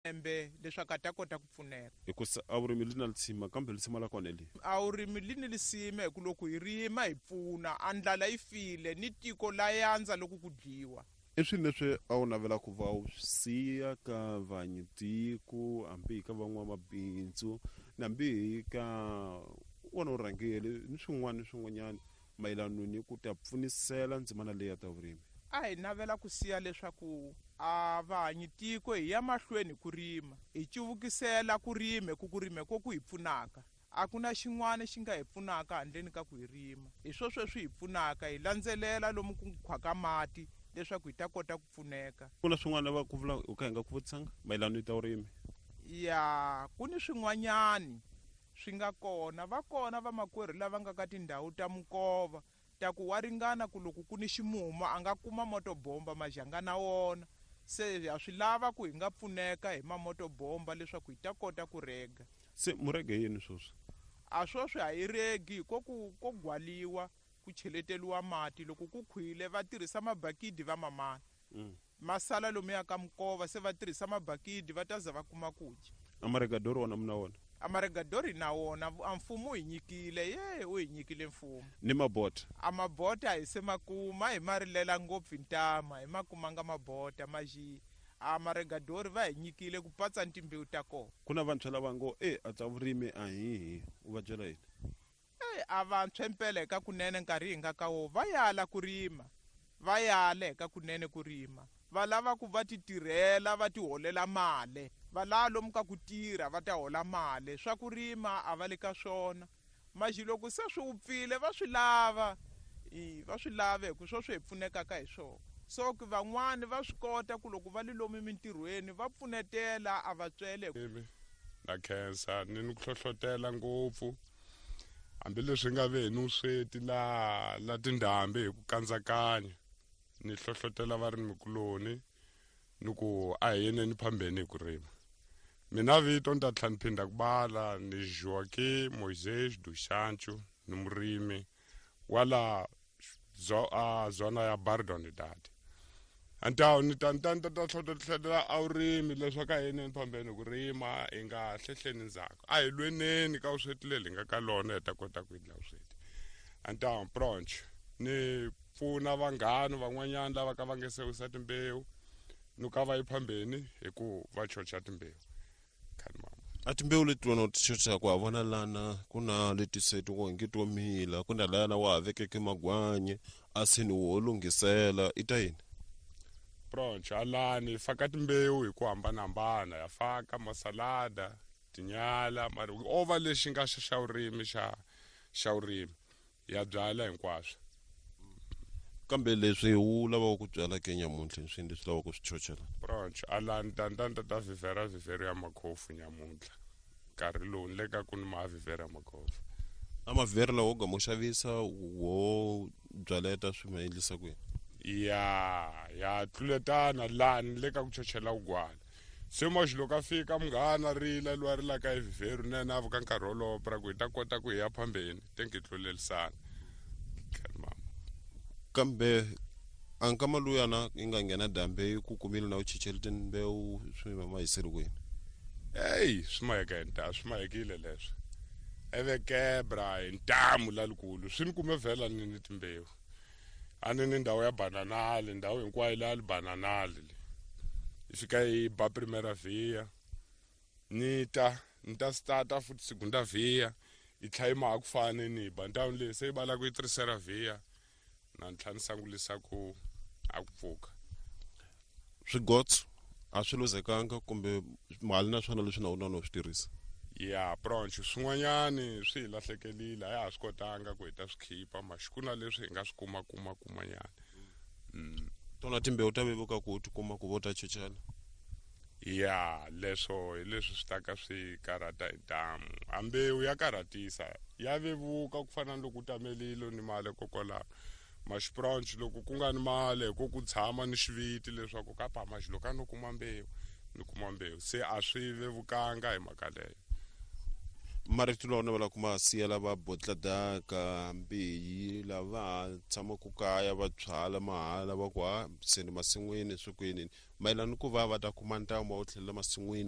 Lembe leswaku a ta kota ku pfuneka. Hikusa a vurimi li na lisima kambe lisima la kona hi lihi? A vurimi li ni lisima hi ku loko hi rima hi pfuna, a ndlala yi file ni tiko la yandza loko ku dliwa. I swini leswi a wu navela ku va u swi siya ka vanyitiko hambi hi ka van'wamabindzu na hambi hi ka wona vurhangeri ni swin'wana ni swin'wanyana mayelano ni ku ta pfunisela ndzimana leyi ya ta vurimi? A hi navela ku siya leswaku a vahanyi tiko hi ya mahlweni hi ku rima, hi cuvukisela ku rima hi ku ku rima hi ko ku hi pfunaka. A ku na xin'wana xi nga hi pfunaka handleni ka ku hi rima. Hi swo sweswi hi pfunaka, hi landzelela lomu ku nkhwaka mati leswaku hi ta kota ku pfuneka. Ku na swin'wana va ku vula u ka hi nga ku vutisanga mayelano ni ta vurimi? Ya, ku ni swin'wanyani swi nga kona. Va kona vamakwerhu lava nga ka tindhawu ta minkova ta ku wa ringana ku loko ku ni ximumu a nga kuma motobomba majanga na wona. Se ha swi lava ku hi nga pfuneka hi mamotobomba leswaku hi ta kota ku rega. Se mu rege yini swoswi? A swoswi a hi regi ko ku ko gwaliwa ku cheleteliwa mati loko ku khwile va tirhisa mabakidi va mamana. Ma sala lomuya ka minkova se va tirhisa mabakidi va ta za va kuma ku dya. A maregadori wona mi na wona? A maregadori hi na wona a mfumo u hi nyikile ye u hi nyikile mfumo. Ni mabota? A mabota a hi se ma kuma hi ma rilela ngopfu hi ntamu a hi ma kumanga mabota maxi a maregadori va hi nyikile ku patsa ni timbewu ta kona. Ku na vantshwa lava ngo e a tsa vurimi a hi hi u va byela yini? Ey, a vantshwa impela hi ka kunene nkarhi hi nga ka wo va yala ku rima, va yala hi ka kunene ku rima. Va lava ku va ti tirhela va ti holela male. Va lava lomu ka ku tirha va ta hola male. Swa ku rima a va le ka swona. Maxi loko se swi wupfile va swi lava, i, va swi lava hi ku sweswo hi pfunekaka hi swona. So ku van'wani va swi kota ku loko va li lomu mintirhweni va pfunetela a va tswele. Na khensa ni ni ku hlohlotela ngopfu hambileswi nga ve ni vusweti la la tindhambi hi ku kandzakanya ni hlohlotela varimikuloni ni ku a hi yeneni phambeni hi ku rima mina vito ni ta tlhela ni phinda ku bala ni Joaquim Moisés do Sancho ni murimi wa la zona ya Bardonidade antawu ni ta ni ta ni ta ta hlohletela a vurimi leswaku a yeneni phambeni ku rima hi nga hlehleni ndzhaku a hi lweneni ka vusweti leri hi nga ka lona hi ta kota ku endla vusweti antawu pronch ni pfuna vanghana van'wanyana lava ka va nge se wisa timbewu ni ka va yi phambeni hi ku va chocha timbewu khani mama A timbewu leti wena u ti chochaka wa vona lana ku na leti se ti nge to mila ku na lana wa ha vekeke magwanyi a se ni wo lunghisela i ta yini pronch alani hi faka timbewu hi ku hambanahambana ya faka masalada tinyala mara o va lexi nga xa xa vurimi xa xa vurimi ya byala hinkwaswo kambe leswi wu lavaka ku byala ke nyamuntlha i swini leswi lavaka ku swi chochela pronch alani tantanta ta vhivhera vhivhero ya makhofu nyamuntlha nkarhi lowu ni le ka ku ni ma vhivhera ya makhofu a mavhivhera lawa wo gama u xavisa wo byaleta swi ma endlisa ku yini ya ya tluletana laha ni le ka ku chochela vugwala se maxi loko a fika munghana rila loyi a rilaka hi vhivheru na yena a vuka nkarhi wolowo pra ku hi ta kota ku hi ya phambeni te ngi tlulelisana mama kambe a nkama luyana yi nga nghena dambe yi ku kumile na u chichele timbewu swi ma hiseli kwini eyi swi maheka hi ntamu swi mahekile leswo eve kebra hi ntamu lalikulu swi ni kume vhela ni ni timbewu a ni ni ndhawu ya bananali ndhawu hinkwayo leya li bananali le yi fika yi ba primera via ni ta ni ta starta futhi segunda via yi tlha yi maha ku fane ni ba ndhawu leyi se yi bala ku yi tercera via na ni tlha ni sangulisa ku a ku pfuka swigotso a swi luzekanga kumbe mali na swona leswi na wona no swi tirhisa ya bronch swin'wanyani swi hi lahlekelile a ya ha swi kotanga ku hi ta swi khipa maxi ku na leswi hi nga swi kuma kuma kumanyana tona timbewu ta vevuka ku ti kuma ku vo ta chochela ya leswo hi leswi swi ta ka swi karhata hi ntamu a mbewu ya karhatisa ya vevuka ku fana na loko u tamelile ni mali kokwalaho maxipronch loko ku nga ni mali hi ku ku tshama ni xiviti leswaku ka pa maxi loko a no kuma mbewu ni kuma mbewu se a swi vevukanga hi mhaka leyo marito lawa na ku ma siyela va botladaka mbeyi lava ha tshamaka kaya va byala mahala va ku ha se ni masin'wini swi kwini mayelana ni ku va va ta kuma ntamu wa ku tlhelela masin'wini.